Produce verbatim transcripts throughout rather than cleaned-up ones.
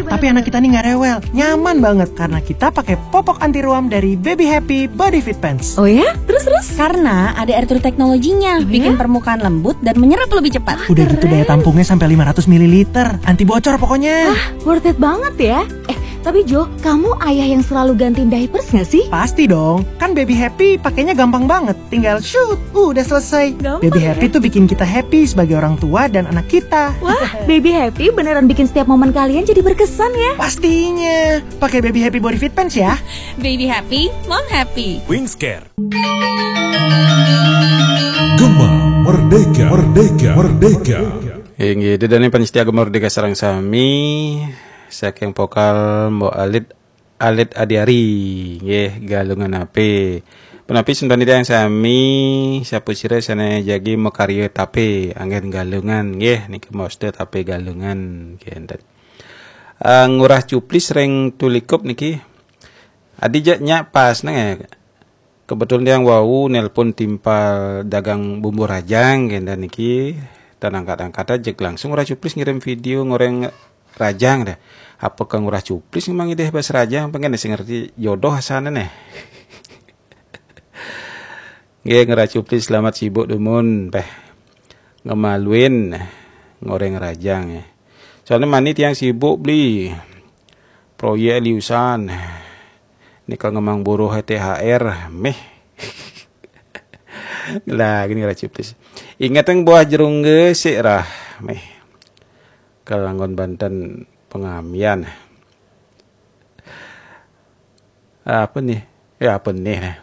Tapi anak kita nih nggak rewel, nyaman banget karena kita pakai popok anti ruam dari Baby Happy Body Fit Pants. Oh ya? Terus terus? Karena ada air true teknologinya, bikin permukaan lembut dan menyerap lebih cepat. Udah gitu daya tampungnya sampai lima ratus mililiter, anti bocor pokoknya. Worth it banget ya. Eh, tapi Jo, kamu ayah yang selalu gantiin diapers gak sih? Pasti dong, kan Baby Happy pakainya gampang banget. Tinggal shoot, udah selesai. Gampang Baby ya? Happy tuh bikin kita happy sebagai orang tua dan anak kita. Wah, Baby Happy beneran bikin setiap momen kalian jadi berkesan ya. Pastinya, pakai Baby Happy Body Fit Pants ya. Baby happy, mom happy. Wingscare. Gema Merdeka, Merdeka, Merdeka. Inggih, dedane panitia Gema Merdeka sareng sami, saking vokal Mbok Alit, Alit Adiari, nggih, Galungan ape. Punapi sentani tiyang sami, sapu sira sane jagi makarya tape, anggen Galungan, nggih, niki moste tape Galungan, nggih, enten. Eh, Ngurah Cuplis ring Tulikup niki. Adi jak nyak pas neng, eh. Kebetulan tiang wau nelpon timpal dagang bumbu rajang, nggih, enten niki. Tan angkat-angkat aja langsung Ngurah Cuplis ngirim video ngoreng rajang deh. Apa ke Ngurah Cuplis memang ide bahasa rajang, pengen sing ngerti jodoh asane neh. Nggih, Ngurah Cuplis selamat sibuk dumun, peh. Ngemaluin ngoreng rajang ya. Soalnya mani tiang sibuk beli proyek liusan. Nika ngemang buruh T H R, meh. Lah, gini Ngurah Cuplis. Ingat yang buah jerung gesik rah, meh. Kelanggon Banten pengamian. Apa nih? Ya apa nih?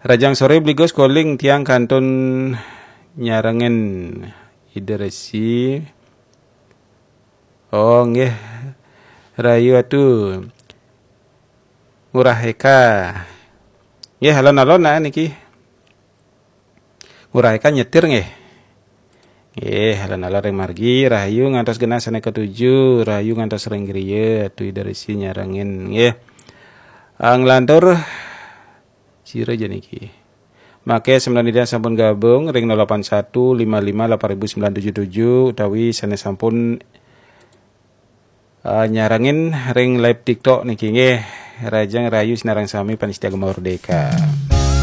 Rajang sore beli gos calling tiang kantun nyarengin Ida Resi. Oh, nggih. Rayu atu. Ngurah Eka. Nggih, alon-alon nah niki. Ngurah Eka nyetir nggih. Nggih, alon-alon ring margi, rahayu ngantos genah sane ketuju, rahayu ngantos ring griya, atu Ida Resi nyarengin nggih. Ah, nglantur sira aja niki. Make semeton Ida sampun gabung ring nol delapan satu lima lima delapan ribu sembilan tujuh tujuh utawi sane sampun ah, nyarengin ring live TikTok niki nggih. Rajang rahayu sinareng sami panitia Gema Merdeka.